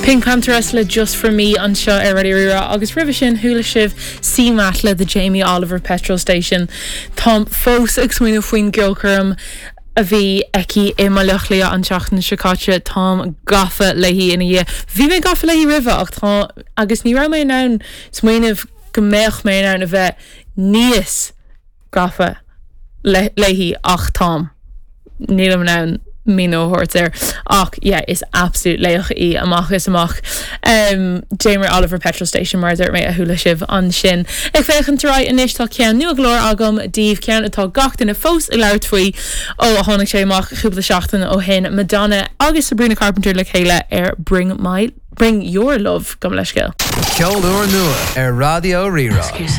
PinkPantheress le Just For Me anseo ar Raidió Rí-Rá agus roimhe sin chuala sibh CMAT le The Jamie Oliver Petrol Station. Táim fós ag smaoineamh faoin gceolchoirm a bhí aici i mBaile Átha Cliath an tseachtain seo caite. Táim gafa léi ina dhiaidh. Bhí mé gafa léi roimhe ach tá agus ní raibh mé in ann smaoineamh go mbeadh mé in ann a bheith níos gafa léi ach táim. Nílim in ann míniú a thabhairt air ach yeah is absolute laoch í amach is amach. Um, Jamie Oliver Petrol Station mar a dúirt mé a chuala sibh ansin. Ag féachaint ar aghaidh anois tá ceann nua go leor agam daoibh, ceann atá gach duine fós ag labhairt faoi ó a tháinig sé amach cúpla seachtain ó shin, Madonna agus Sabrina Carpenter le chéile ar Bring My Bring Your Love gabh mo leithscéal. Ceol úrnua ar Raidió Rí-Rá.